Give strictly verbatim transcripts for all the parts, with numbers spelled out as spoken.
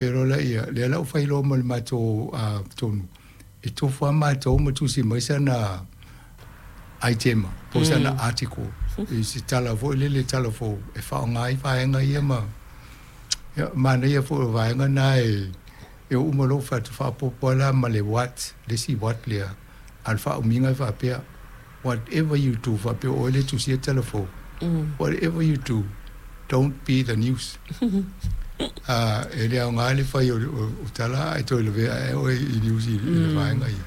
Pero la ia, lea la ua faailoa ma le matou tonu, e tofu lava matou ma tusi mai sana item po o sana article i se tala foi lele tala fou e faaaoga ai vaega ia ma ia, manaia foi o vaega na e e oo uma loa fai atu faaopoopo lava la ma le what, le isi what lea, a o le faaumiga e faapea, whatever you do, faapea o oe le tusia tala fou, whatever you do, don't be the news. Uh, e le aoga le fai o, o, o tala ae toe lavea ae oe i news i, i le vaega ia.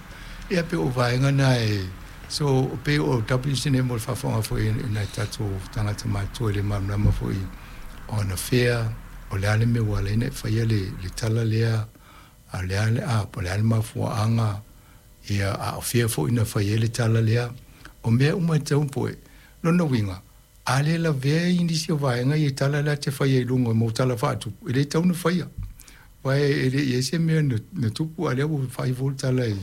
Ia pe o vaega na e, so pe o W C N M o le faafofoga foi i nai tatou tagata matutua i le malamalama foi o ana fea, o le a le mea ua ala ai ona e faia le, le tala lea, a le a le, a, po o le a le mafuaaga, ia, a o fea foi na fai ai le tala lea. O mea uma e tatau poe, lona uiga, a le lavea i nisi o vaega i tala lea te faia i luga mo tala faatupu, e le tatau ona faia. Aua e le i ai se mea na, na tupu, a lea ua fai foi le tala i,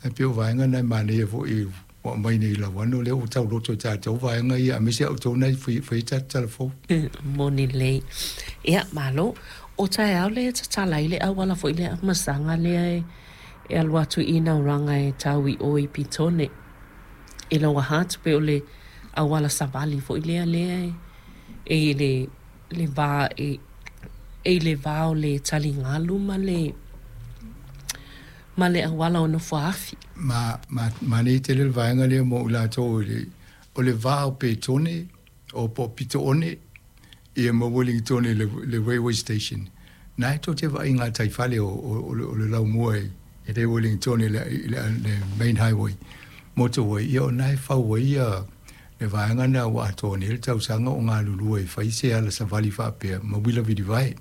e pei o vaega na e manaia foi ua aumai nei lauano, lea ua tauloto i tatou vaega ia, aemaise a outou na i fai, fai tatou tala fou. Moni lelei. Ia, malo. O taeao lea e tatala ai le auala foi lea masaga lea e, e alu atu i Nauraga e tau i o i Pitone. I Lower Hutt, pe o le auala savali foi lea lea e, e i le, le va, e, e i le va o le taligalu ma le, ma le auala o Nofoaafi. Ma, ma, ma nei tele le vaega lea mo i latou i le, o le va o Petone, o po Pitoone, ia ma Wellington le, le railway station. Na e tou te vaai ngā taifale o, o, o, le, o le laumua i, i le Wellington le, le, le main highway, motorway, ia o na e fau ai ia le vaega na ua atoa nei le tausaga o galulue e fai se ala savali faapea ma uila vilivae.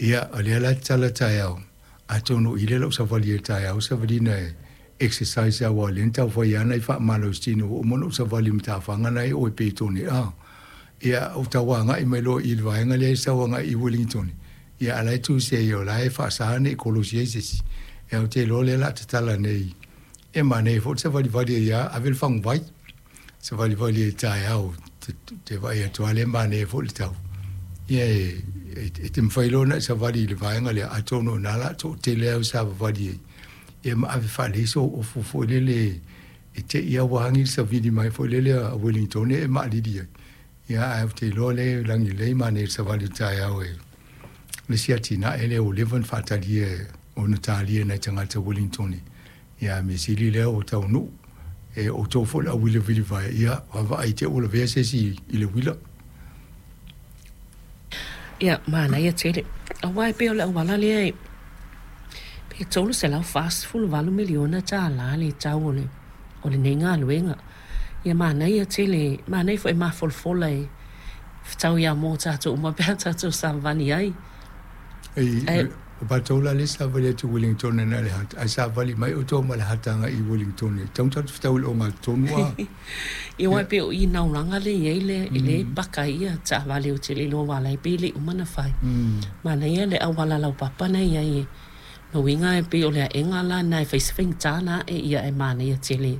Ia, o lea la tatala taeao, atonu i le lau savali e taeao, savalina e exercise aua lea na taufai ana i faamalositino ua uma ona ou savali i matafaga na e o e Petone a. Ia, o tauagai mai loa i le vaega lea e sau agai i Wellington. Ia, a la e tusi ai o la e faasa nei kolosi ai se isi. Ia, o te iloa lea la tatala nei. E manaia foi le savalivali ai lava, ave le faguvai. Savalivali ai taeao, te, te vaai atu lava lea manaia foi le tau. Ia, e, e, e te mafai loa ona e savali i le vaega lea, atonu o na la toatele au savavali ai. Ia ma ave faalei so ofu foi lele e te ia wāngi le savili mai foi lele a Wellington e maalili ai. Ia, ae ou te iloa lea lagi lelei manaia le savali o taeao e le isi atinae lea ua leva ona faatalia ona talia nai tagata Wellington. Ia, mea sili lea ua taunuu. E outou foi le auvilivilivae, ia, vaavaai te ua lavea se isi i le uila. Ia, manaia tele. Aua e pei o le auala lea e pe tolu selau fasefulu valu miliona tālā le tau o le, o lenei galuega. Ia manaia tele, manaia foi mafolafola e fetau ia mō tātou uma pe a tātou savali ai. Ei, Ai, o matou la le savali atu Wellington na le hata, ai savali mai outou ma le hataga i Wellington. Tatau ona tatou fetau i le ogatotonu a. Ia aua e pei o i Nauraga le i ai le, e le paka ai ia taavale o tele iloa ua ala ai pe le i uma ona fai. Manaia le auala laupapa na i ai e lona uiga e pei o le aega la na e fai se faigata na ae ia e manaia tele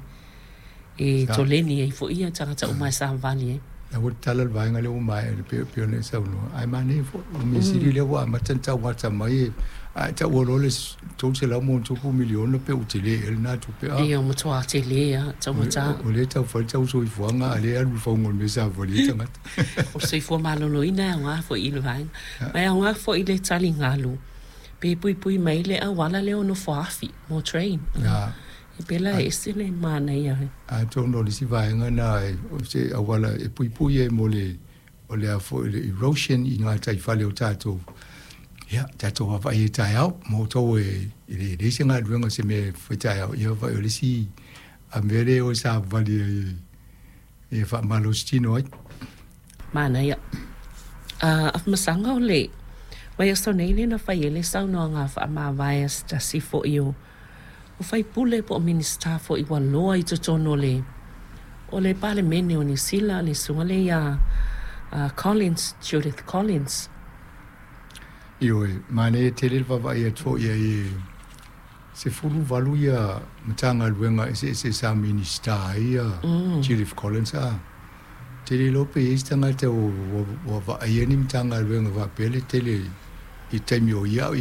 e toleni ai foi ia tagata uma e savali ai. Na ua tatala le vaega lea ua maea le pei pei ona e saunoa, ae manaia foi o mea sili lea ua amata ona tauata mai e ae taua loa le tolu selau ma ono tupu miliona pe ua tele ea lena tupe a. Ia ua matua tele lava taugata. O lea e taufai le tau soifuaga a lea e alu i le fauga o le mea savali ai tagata. O le soifua maloloina e aoga foi i le vaega. Ma e aoga foi i le taligalu pe puipui mai le auala lea o Nofoaafi mo train. E pela e ese le manaia. Atonu o le isi vaega na o se auala e puipui ai mo le o le a foi le erosion i ngā taifale o tatou. Ia, tatou vaavaai ai taeao, mo outou e e le leai se galuega se mea e fai taeao, ia vaai o le isi a mea lea o e savavali ai e faamalositino ai. Manaia. A masaga o le vaiaso nei lea na fai ai le saunoaga faamavae a se tasi foi o o faipule po o Minisita foi ua loa i totonu o le o le Palemene o Niu Sila, le susuga lea ia Collins, Judith Collins. Ioe, manaia tele le vaavaai atu foi i ai e sefulu valu ia Matagaluega eseese sa Minisita ai ia Judith Collins a. Tele iloa pe i ai se tagata ua vaaia ni Matagaluega faapea le tele I taimi o ia'u.